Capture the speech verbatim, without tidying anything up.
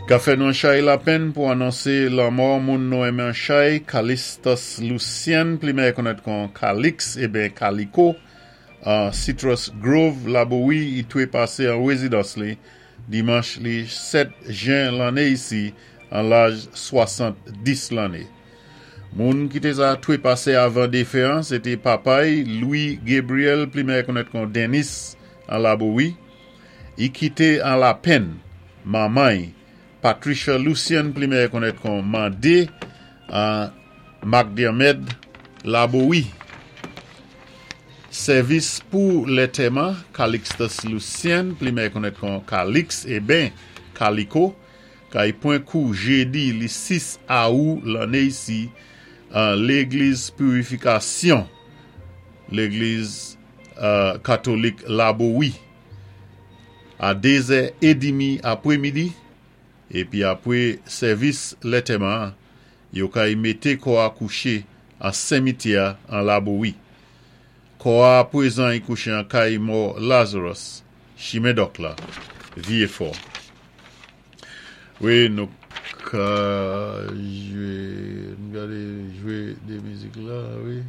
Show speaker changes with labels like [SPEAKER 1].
[SPEAKER 1] Ka fè nou an chay lapenn pou anonsé lanmò moun nou enmen an chay, Calistus Lucien, pli mèyè konnèt kon Calix, ében Calico, an Citrus Grove, Labowi, i twépasé an wézidans li, dimanch li sèt jen lanné isi, an laj swasann-dis lanné. Moun ki té sa twépasé avan défen an, sé té papa'y Louis Gabriel, pli mèyè konnèt kon Dennis, an Labowi, i kité an lapenn, manman'y, Patricia Lucien, pli mèyè konnèt kon Mandé, an McDermott, Labowi. Sèvis pou lantèman, Calixtus Lucien, pli mèyè konnèt kon Calix, ében Calico, kay pwan kou jédi li sis awou lanné isi, an légliz Purifikasyon, légliz euh, katolik Labowi, a dézè édmi apwémidi, épi apwé sèvis lantèman, yo kay mété kò a kouché an simityè an Labowi. Kò a pwézan i kouché an kay mò Lazarus, chimen Dòk la, Vyé Fò. Wi, nou ka jwé, gadé jwé dé mizik la, wi.